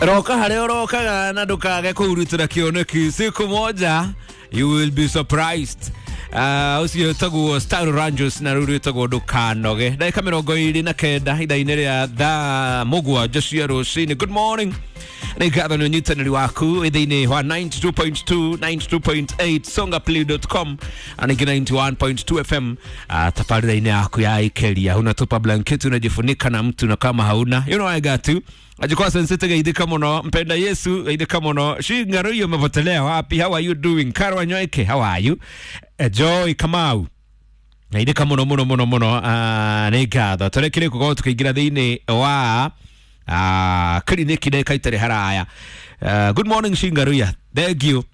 Roka harĩa ũrokaga na ndũkage kũhurutĩra kĩoneki. Siku moja you will be surprised. Ũcio wĩtagwo Star Rangers na rũu rwĩtagwo ndũkanoge. Ndagĩka 29 ithaa-inĩ rĩa thaa 7 cia rũcinĩ. Good morning. Nĩ ngatho nĩ ũnyitanĩri waku thĩinĩ wa 92.2, 92.8, songaplay.com na ningĩ 91.2 FM. Tabarĩra-inĩ yaku ya ikeria unatupa blanketi unajifunika na mtu, na kama hauna, you know I got you. Ajikwa sensete geithika muno, mpenda Yesu geithika muno. Shingaro hiyo umepotelea wapi? How are you doing? Karwa Nyoike, how are you? Joy Kamau geithika muno muno muno muno. Nĩ ngatho tũrekire gũkorwo tũkĩingĩra thĩinĩ wa kiriniki ndagĩka itarĩ haraya. Good morning Shingaruya, thank you.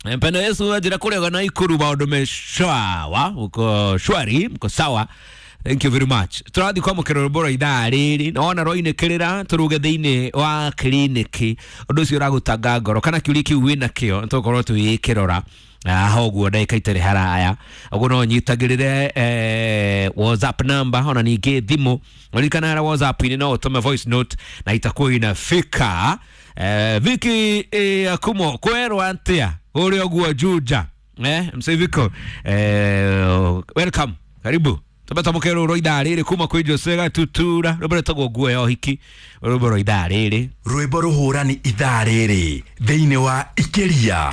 Mpenda Yesu anjĩra kũrĩa na ikuru maũndũ me sawa, uko shwari, mko sawa. Thank you very much. Tũrathiĩ kwamũkĩra rwĩmbo rwa ithaa rĩrĩ na wona rwainĩkĩrĩra tũruge thĩinĩ wa kiriniki. Ũndũ ũcio ũragũtanga ngoro kana kĩũria kĩu wĩna kĩo nĩtũgũkorwo tũgĩkĩrora haha ũguo ndagĩka itarĩ haraya. Ũguo no ũnyitagĩrĩre WhatsApp number ona ningĩ thimũ. Ũririkana harĩa WhatsApp-inĩ no ũtũme voice note na itakuwa inafika. Viki Akumo kwerwo atĩa ũrĩa ũguo Juja, Mzee Viko, welcome, karibu. Tũbe twamũkĩre rũrũ ithaa rĩrĩ kuma kwĩ Jose Gatutura, rwĩmbo rwĩtagwo nguo ya ũhiki, rwĩmbo rwa ithaa rĩrĩ. Rwĩmbo rũhũrani ithaa rĩrĩ thĩinĩ wa Ikiria.